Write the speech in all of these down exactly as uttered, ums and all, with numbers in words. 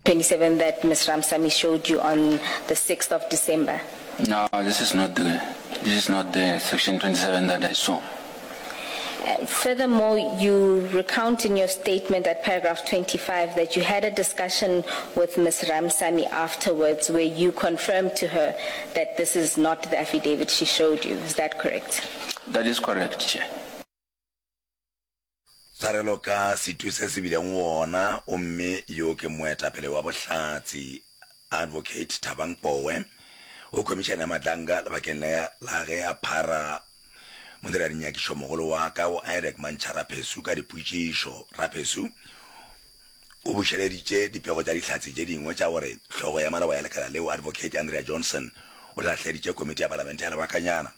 twenty-seven that Miz Ramsamy showed you on the sixth of December? No, this is not the, this is not the section twenty-seven that I saw. Uh, furthermore, you recount in your statement at paragraph twenty-five that you had a discussion with Miz Ramsamy afterwards where you confirmed to her that this is not the affidavit she showed you. Is that correct? That is correct, Chair. Tshwarelo ka setu se se bileng wona, gomme yo ke moetapele wa bohlatse, Advocate Thabang Powe, go Khomišene ya Madlanga lebakeng le la ge a phara modiradinyakišomogolo wa ka go I D E C Mantšha Raphesu ka dipotšišo. Raphesu o bušeleditše dipego tša dihlatse tše dingwe tša gore hlogo ya maloba ya lekala leo, Advocate Andrea Johnson, o lahleditše komiti ya palamente ya lebakanyana.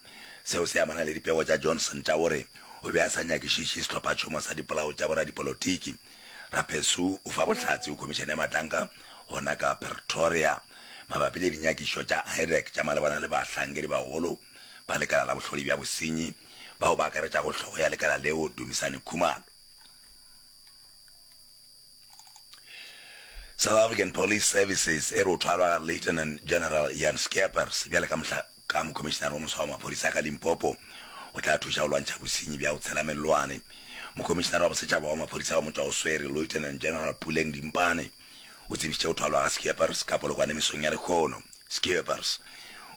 Seo se amana le dipego tša Johnson tša gore o be a sa nyakišiše sehlophatšhomo sa dipolao tša boradipolotiki. Raphesu o fa bohlatse go Khomišene ya Matlanka gona ka Pretoria mabapi le dinyakišo tša I D E C tša malebana le bahlankedibagolo ba lekala la bohlodi bja bosenyi bao ba akaretšago hlogo ya lekala leo, Dumisani Khumalo. South African Police Services e re o thwalwa ga Lieutenant General Jan Scheepers bjale ka mohla ka mokhomišenare wo moswa wa maphodisa ka Limpopo o tla thuša go lwantšha bosenyi bja go tshela mellwane. Mokhomišenare wa bosetšhaba wa maphodisa wa motšwaoswere Lieutenant General Puleng Dimpane o tsebišitše go thwalwa ga Scheepers ka Polokwane mesong ya lehono. Scheepers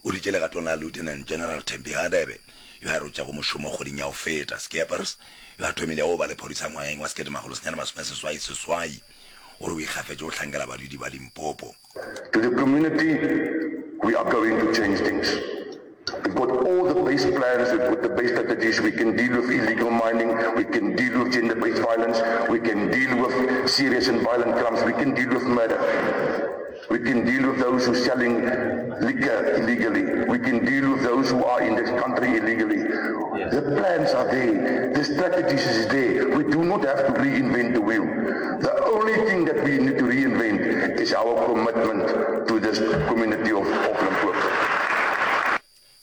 o dutše legatong la Lieutenant General Thembi Hadebe yo a rotšego mošomo kgweding ya go feta. Scheepers yo a thomilego go ba lephodisa ngwageng wa sekete makgolo senyane masome seswai seswai o re o ikgafetše go hlankela badudi ba Limpopo. To the community, we are going to change things. We've got all the base plans, we've got the base strategies. We can deal with illegal mining, we can deal with gender-based violence, we can deal with serious and violent crimes, we can deal with murder. We can deal with those who are selling liquor illegally. We can deal with those who are in this country illegally. The plans are there. The strategies is there. We do not have to reinvent the wheel. The only thing that we need to reinvent is our commitment to this community of, of Limpopo.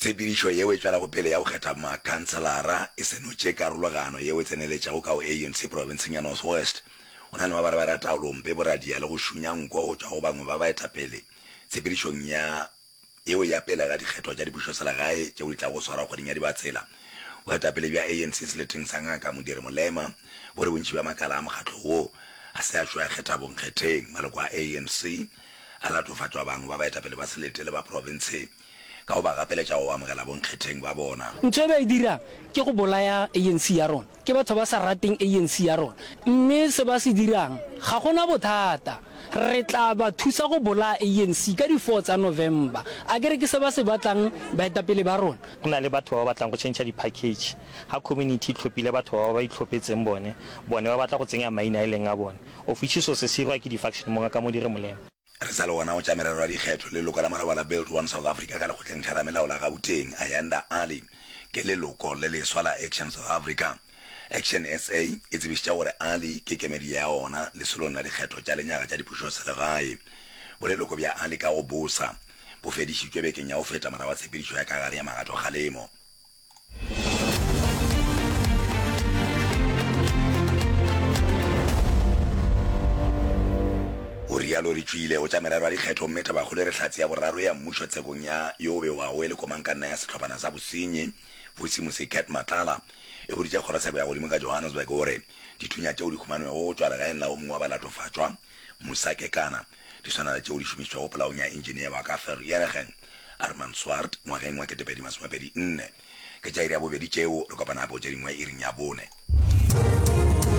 Tshepedišo yeo e tšwelago pele ya go kgetha makhanselara e senotše karologano yeo e tseneletšego ka go A N C profenseng ya North West. Go na le mabarebare a taolompe, boradia le go šunya nko go tšwa go bangwe ba baetapele tshepedišong ya yeo ya pele ga dikgetho tša dipušoselegae tšeo di tlago go swarwa kgweding ya Dibatsela. Boetapele bja A N C seleteng sa Ngaka Modiri Molema bo re bontši bja makala a mokgatlo wo a se a tšwe a kgetha bonkgetheng. Maloko a A N C a latofatšwa bangwe ba baetapele ba selete le ba profense ka go ba gapeletša go amogela bonkgetheng ba bona. Ntho e ba e dirang ke go bolaya A N C ya rona. Ke batho ba sa rateng A N C ya rona. Mme se ba se dirang, ga go na bothata. Re tla ba thusa go bolaya A N C ka di four tsa November. A ke re ke se ba se batlang baetapele ba rona? Go na le batho ba ba batlang go tšhentšha di-package. Ga community e tlhophile batho ba ba itlhophetseng bone, bone ba batla go tsenya maina a e leng a bone. Of which so se se irwa ke di-faction mo ngaka Modiri Molema. Re sa le gona go tša merero ya dikgetho, leloko la maloba la Build One South Africa ka lekgotleng theramelao la Gauteng, Ayanda Ali, ke leloko le leswa la Action South Africa. Action S A e tsebišitše gore Ali ke kemedi ya ona lesolong la dikgetho tša lenyaga tša dipušoselegae. Boleloko bja Ali ka go bosa bo fedišitšwe bekeng ya go feta morago ga tshepedišo ya ka gare ya magatokgalemo. O realo re tšwile go tša merero ya dikgetho mme tabakgolo e re hlatse ya boraro ya mmušo tshekong ya yo o bewago e le komangkanna ya sehlophana sa bosenyi Vusimusi Cat Matlala e boditše kgorotsheko ya godimo ka Johannesburg gore dithunya tšeo di humanwego go tšwa legaeng la o mongwe wa balatofatšwa Musa Kekana di swana le tšeo di šomišitšwego polaong ya engineer wa ka Vereeniging Armand Swart ngwageng wa ketepedi masomepedi nne. Ke tša iri ya bobedi tšeo, re kopana gape go tše dingwe iring ya bone.